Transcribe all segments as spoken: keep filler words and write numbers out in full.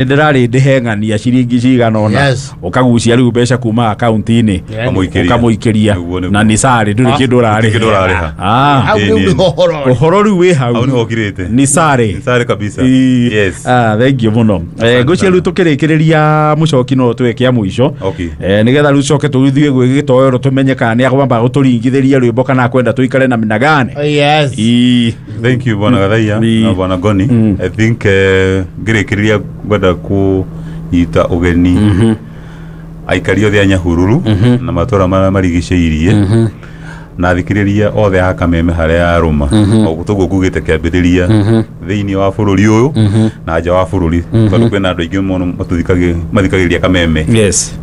Ndĩrarĩ ndĩheng'ania ciringi cigana ũna ũkagucia rĩu mbeca kuma akaunti-inĩ ũkamũikĩria na nĩ sarĩ ndũrĩ kĩndũ ũrarĩha. Ah, ũhoro rĩu wĩ hau nĩ sarĩ nĩ sarĩ kabisa. Yes. Ah, thank you mũno. Eh, ngwĩciria rĩu tũkĩrĩkĩrĩria mũcoki no twĩke a mũico eh nĩgetha rĩu coke tũthiĩ gwĩ gĩtoero tũmenye kana nĩ akwamba gũtũringithĩria rwĩmbo kana akwenda tũikare na minagane. Yes. Thank you bwana Gathaia na bwana Goni. I think ngĩrĩkĩrĩria ngwenda kunyita ugeni aikari othe a Nyahururu na matũra marĩa marigicĩirie na thikĩrĩria othe a Kameme harĩa arũma o toguo ngugĩte kĩambĩrĩria thĩinĩ wa bũrũri ũyũ na nja wa bũrũri tondũ kwĩna andũ aingĩ mũno mathikagĩrĩria Kameme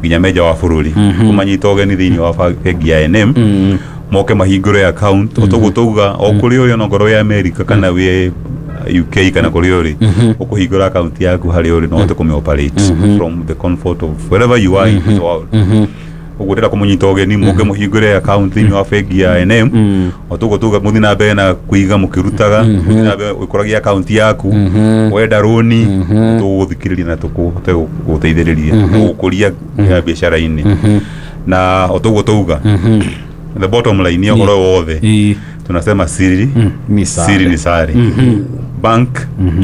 nginya me nja wa bũrũri kũmanyita ũgeni thĩinĩ wa bengi ya I and M moke mahingũre account o toguo tauga o kũrĩa ũrĩ onokorwo wĩ America kana wĩ U K kana kũrĩa ũrĩ ũkũhingũra account yaku harĩa ũrĩ na ũhote kũmĩ operate from the comfort of wherever you are in this world. Ũguo ndĩrenda kũmũnyita ũgeni mũke mũhingũre account thĩinĩ wa bengi ya I and M o toguo tuga mũthiĩ na mbere na kũiga mũkĩrutaga mũthiĩ na mbere ũkũragia account yaku wenda rũni tũgũthikĩrĩria na tũkũhote gũteithĩrĩria gũkũria biacara-inĩ na o toguo tauga the bottom line ya ũhoro wothe tunasema siri ni sare. Siri ni sare. Bank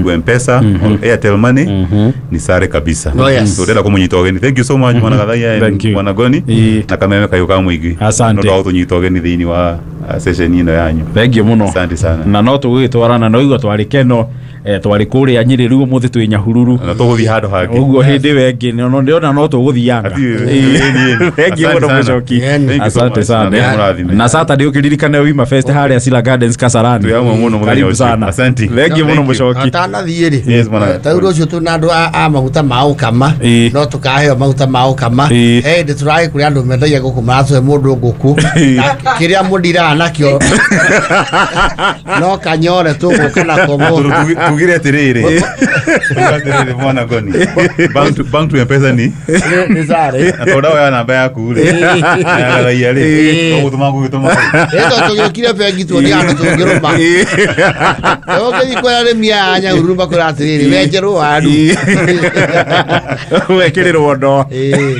to M-Pesa or Airtel Money ni sare kabisa. Oh, yes. So ndĩrenda kũmũnyita ũgeni. Thank you so much bwana Gathaia and bwana Goni na Kameme kayo ka mũingĩ. Asante. No tũnyita ũgeni thĩinĩ wa session ĩno yanyu. Thank you mũno. Asante sana. Na no tũgũgĩtwarana no igua twarĩ keno eh twarĩ kũrĩa Nyĩrĩ rĩu ũmũthĩ twĩ Nyahururu na tũgũthiĩ handũ hangĩ ũguo hĩndĩ ĩyo ĩngĩ no ndĩrona no tũgũthianga. Thank you mũno mũcoki. Asante sana. Na Saturday ũkĩririkane Wima Fest harĩa Sila Gardens Kasarani. Karibu sana. Asante. Thank you mũno mũcoki. Atanathiĩ rĩ. Yes bwana. Ta rĩu rũciũ twĩna andũ a maguta ma ũkama no tũkaheo maguta ma ũkama. Eh ndĩ tũragĩ kũrĩa andũ mendagia ngũkũ maratũhe mũndũ ngũkũ na kĩrĩa mũndiraga nakĩo no kanyore tũgũka nako mũndũ. Tugire atiriri atiriri bwana Goni bank to bank to M-Pesa ni ni sare na tonda oya namba yaku ri Gathaia ri tũgũtũma ngũgĩtũma ĩto tũgĩũkire bengi tuone andũ tũngĩrũma ũgĩthiĩ kwĩra arĩmi aya a Nyahururu makwĩra atĩrĩrĩ wenjerwo waru wekĩrĩrwo ndoo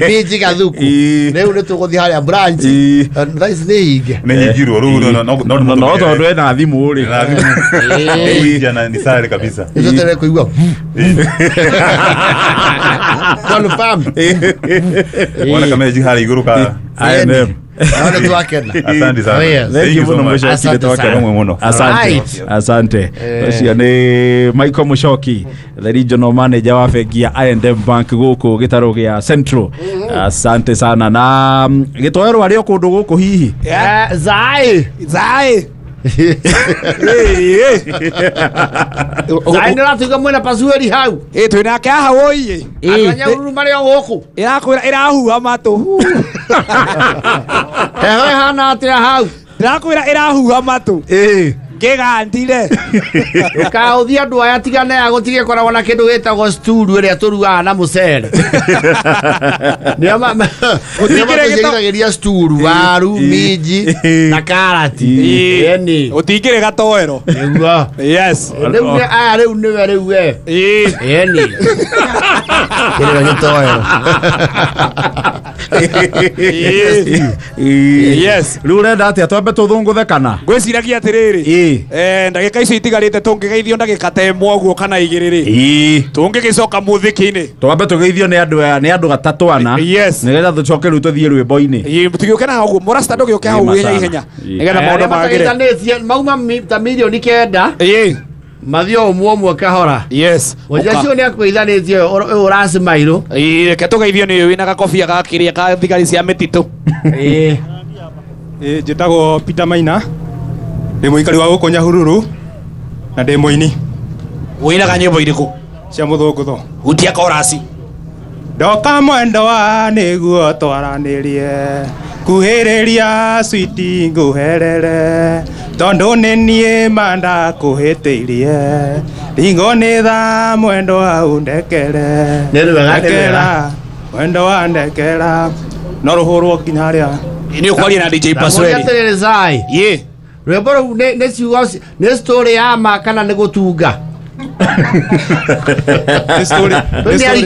minji gathuku rĩu nĩ tũgũthiĩ harĩa branch thaa ici nĩ hinge nĩ hingirwo rĩu no no no tondũ ena thimũ rĩ na ni sare kabisa nĩtũtere kũigua confirm wana Kameme harĩa igũrũ ka I and M. Naona twakena. Asante sana. Thank you mũno mũcoki nĩ twakena mũno. Asante. Asante. Ũcio nĩ Michael Mũcoki the regional manager wa bengi ya I and M Bank gũkũ gĩtarũ gĩa Central. Asante sana na gĩtoero arĩ o kũndũ gũkũ hihi. Zai. Zai. Zai nĩũratuĩka mwĩna pasueri hau. Ĩ twĩnake haha wũiĩ. Andũ a Nyahururu marĩ o gũkũ. Ĩrakwĩra ĩrahuha matũ. Heho ĩhana atĩa hau? Ndĩrakwĩra ĩrahuha matũ. Ĩ. Kĩgandire. Ũkaũthia andũ aya tigane ya gũtige koragwo na kĩndũ gĩtagwo sturu ĩrĩa tũrugaga na mũcere. Nĩo matũigagĩria sturu, waru, minji na karati. Ĩni. Gũtingĩrĩ gatoero. Nĩguo. Yes. Rĩu nĩ aya rĩu nĩwe rĩu we. Ĩni. Kĩrĩ gĩtoero. Yes. Rĩu ũrenda atĩa twambe tũthũngũthe kana? Ngwĩciragia atĩrĩrĩ. Eh ndagĩka icio itigarĩte tũngĩgeithio ndagĩka ta ĩmwe ũguo kana igĩrĩ rĩ. Tũngĩgĩcoka mũthiki-inĩ. Twambe tũgeithio nĩ andũ aya nĩ andũ gatatũ ana. Nĩgetha tũcoke rĩu tũthiĩ rwĩmbo-inĩ. Tũgĩũke na hau ũguo mũrasta ndũgĩũke hau ihenya ihenya. Nĩgetha maũndũ magĩre. Mauma ta mirioni kenda. Mathiĩ o ũmwe ũmwe kahora. Yes. Mũthenya ũcio nĩ akũgeithanĩtie ũyũ ũracimairwo. Ĩĩ reke tũgeithio nĩ ũyũ wĩna gakobia ga kĩrĩa ka thigari cia mĩtitũ. Ĩĩ. Ĩĩ njĩtagwo Peter Maina. Ndĩ mũikari wa gũkũ Nyahururu na ndĩ mũini. Ũinaga nyĩmbo irĩkũ? Cia mũthũngũtho. Hutia korasi. Ndoka mwendo wa nĩguo twaranĩrie kuhĩrĩria switi ngũherere tondũ nĩ niĩ ma ndakũhĩtĩirie ringo nĩ tha mwendo wa ũndekere ndekera mwendo wa ndekera no rũhũrwo nginya harĩa nĩ ũkwaria na D J Pasweri. Ĩĩ. Rwĩmbo rũu nĩ ciugo nĩ story ya ma kana nĩ gũtunga? Nĩ story nĩ story